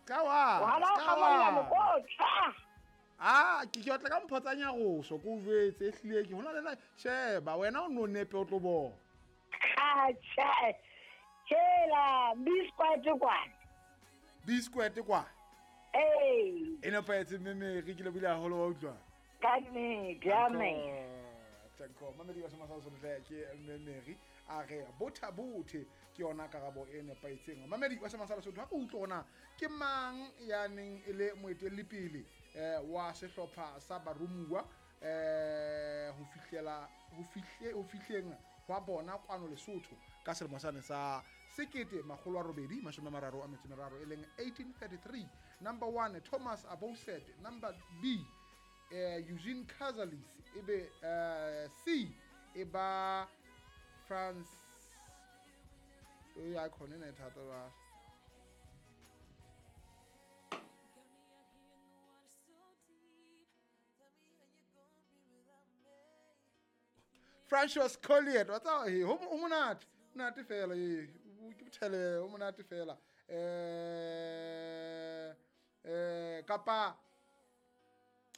Ska wa. Wa la ska ga molla wa. mokotla. A ke ke otla ka mpho tsa nyaroso ko o jwetse ehlile ke hona le na sheba wena o no nepe o tlo bona. Atjha. Hela, biscuit kwana. Biscuit kwa. Ee. E nepahetse mme Mary ke lebohile haholo wa utlwa. Ka nnete, amen. Tanko mamedi wa semasa sohle ke mme Mary a re botha bothe ke yona karabo e nepahetseng. Mamedi wa semasa Lesotho ha ke utlwe hore na ke mang ya neng e le moetelli wa sehlopha sa baromuwa ho fihlela ho fihle ho fihleng hwa bona kwano Lesotho ka selemo sane sa 1833 e leng 1833. Number 1 Thomas Abouset, number B Eugene Cazalis, ebe C e ba France ya khona ena e thata ba Francois Colliet wa tseba he ho monate monate fela e ke bothele ho monate fela kapa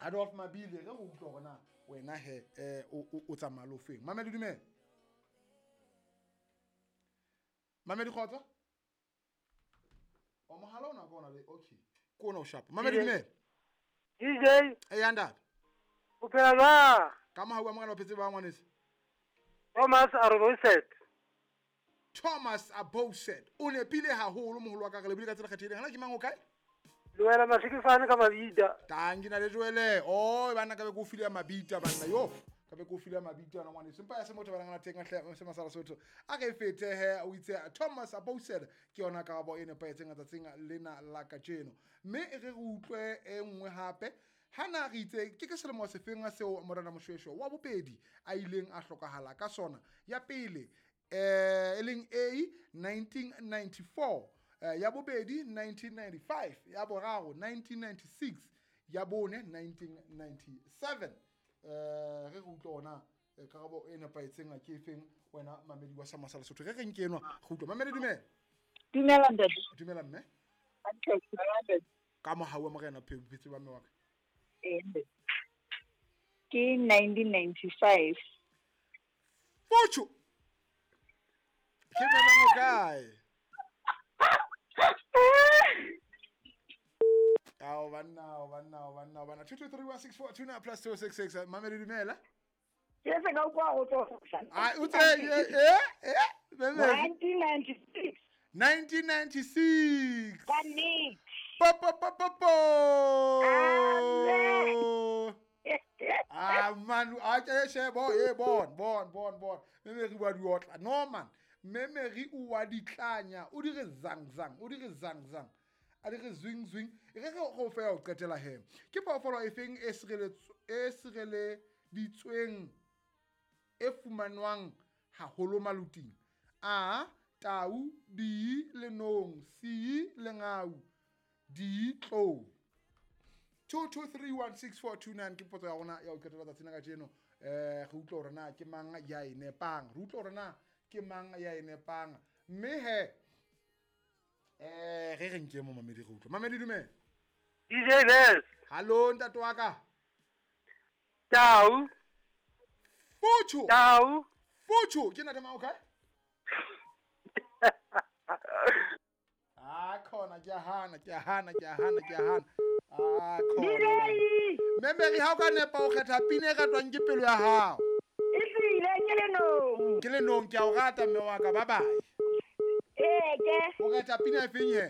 Adolf Mabile re go utlwa hore na wena he o tsamaya le ofeng. Mamedi dumela. Mamedi kgotso. O mohala ona ke ona le okay. Ke ona o sharp. Mamedi dumela. DJ. E ntate. O phela jwang? Ka mohau wa Morena o phetse ba ngwaneso. Thomas Aboset. Thomas Aboset. O nepile haholo moholo wa ka re lebile ka tsela kgethehileng. Hana ke mang o kae? Le wena Mashikifane ka mabita. Tangi na le Joele. Oh, bana ka be ko file mabita banna yo. Ka be ko file mabita na ngwaneso. Empa ya se motho ba ngana teng hle se masala Sotho. A re fete he o itse Thomas Aboset ke yona karabo e nepahetseng tsatsing lena la kajeno. Mme re re utlwe e nngwe hape. Hana re itse ke ke selemo sefeng seo Morena Moshoeshoe wa bobedi a ileng a hlokahala ka sona. Ya pele e leng A 1994, ya bobedi 1995, ya boraro 1996, ya bone 1997. Re re utlwe ona karabo e nepahetseng ke efeng wena mamedi wa Sama sa Lesotho. Re re nke enwa re utlwe. Mamedi dumela. Dumela ntate. Dumela mme. Ka mohau wa Morena phetse ba mme wa ka. Ke 1995. Focho. Ke mang o kae? Ao banna, ao banna, ao banna, ao banna. 2 2 3 1 6 4 2 9 plus 2 6 6. Mamedi dumela. Ke se ka utlwa go tswa. Ai o tse 1996. 1996. Ka nnete. Po po po po po. Ah man, a ke shebo e bon bon bon bon. Mme re bua di otla. No man, mme re o wa ditlanya, o dire zang zang, o dire zang zang. A dire zwing zwing. Re re go fe o qetela he. Ke phoofolo e feng e sireleditsweng e fumanwang haholo maluting? A tau, B lenong, C lengau, D tlou. 2 2 3 1 6 4 2 9 ke potso ya rona ya ho qetela tsatsing la kajeno. Re utlwa hore na ke mang ya e nepang. Re utlwa hore na ke mang ya e nepang. Mme he re re nke mo mamedi re utlwe. Mamedi dumela. DJ Les. Hallo ntate wa ka. Tau. Futsho. Tau. Futsho ke ntate mang o kae? Ah khona ke a hana ke a hana ke a hana ke a hana. Ah khona. Mme re ha o ka nepa o kgetha pina e ratwang ke pelo ya hao. Ehlile ke lenong. Ke lenong ke a o rata mme wa ka bye bye. Ee ke. O kgetha pina e feng he?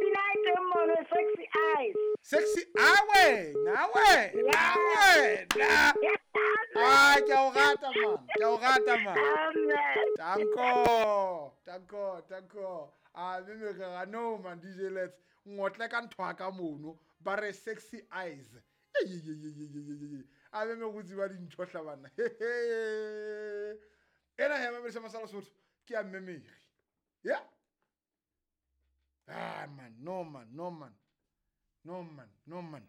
Pina e teng mono Sexy Eyes. Sexy awe, nawe, nawe. Ah ke a o rata man, ke a o rata man. Amen. Danko, danko, danko. Ah mme re ga no man DJ Let's ngotle ka ntho ka mono ba re Sexy Eyes. A mme go tsiba dintho hla bana. Ena he mamedi sa Masala Sotho ke ya mme Mary. Yeah. Ah man, no man, no man. No man, no man.